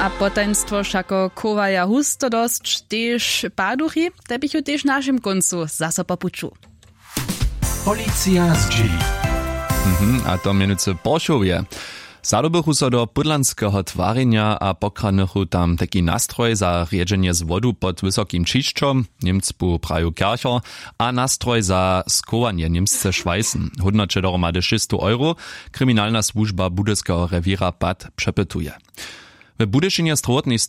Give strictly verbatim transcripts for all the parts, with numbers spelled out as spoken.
A potajnstwo wšako chowaja husto dosć tež paduchi, te běchu tež w našim kóncu zaso po puću. Policija zdźěli. Mhm, a to mjenujcy w Porchowje. Zadobychu so do pudlanskeho twarjenja a pokradnychu tam tajki nastroj za rjedźenje z wodu pod wysokim ćišćom. Němc bu praju kercher a nastroj za skowanje němsce šwajsen, hódnoće dohromady šěsćstow euro. Kriminalna słužba budyskeho rewěra pad přepytuje. W budyšinje strowotnej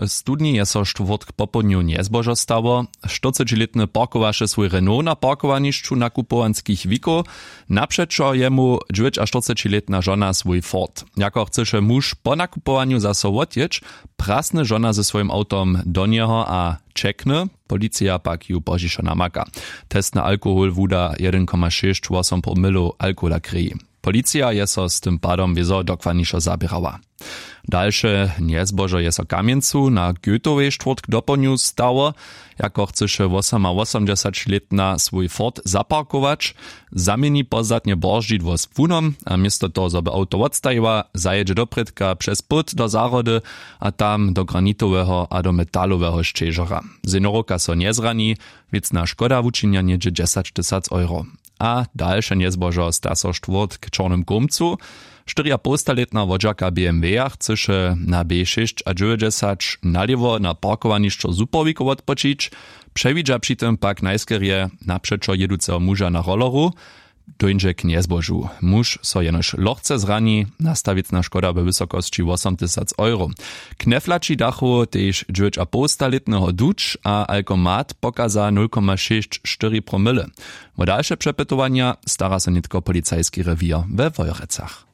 studni je so štwórtk popołdnju njezbožo stało. Štyrcećilětny parkowaše swój renault na parkowanišću nakupowanskich wikow. Napřećo jemu dźewjećaštyrcećilětna žona swój ford. Jako chcyše muž po nakupowanju zaso wotjěć, prasny žona ze swójim awtom do njeho a ćekny. Policija pak ju pozdźišo namaka. Testny alkohol wuda jedyn koma šěsć wosompoł mylow alkohola krěji. Policija je so z tym padom wězo dokładnišo zaběrała. Dalše njezbožo je so w kamjencu na goetowej štwórtk dopołdnju stało. Jako chcyše wosomawosomdźesaćlětna swój ford zaparkować, zaměni pozdatnje bordźidło z płunom a město toho zo by awto wotstajiła, zajědźe doprědka přez płód do zahrody a tam do granitoweho a do metaloweho šćežora. Seniorka so njezrani. Wěcna škoda wučinja něhdźe dźesaćtysac euro. A dalše njezbožo sta so štwórtk w čornym kómcu. Štyriapołstalětna wodźerka bmw-ja chcyše na b šěsćadźewjećdźesać nalěwo na parkowanišćo zupowiko wotpočić. Přewidźa při tym pak najskerje napřećo jěduceho muža na rolleru. Dóńdźe k njezbožu. Muž so jenož lochce zrani. Nasta wěcna škoda we wysokosći wosomtysac euro. Knjeflaći dachu tež dźewjećapołstalětneho duć a alkomat pokaza nul koma šěsć štyri promyle. Wo dalše přepytowanja stara so nětko policajski rewěr we wojerecach.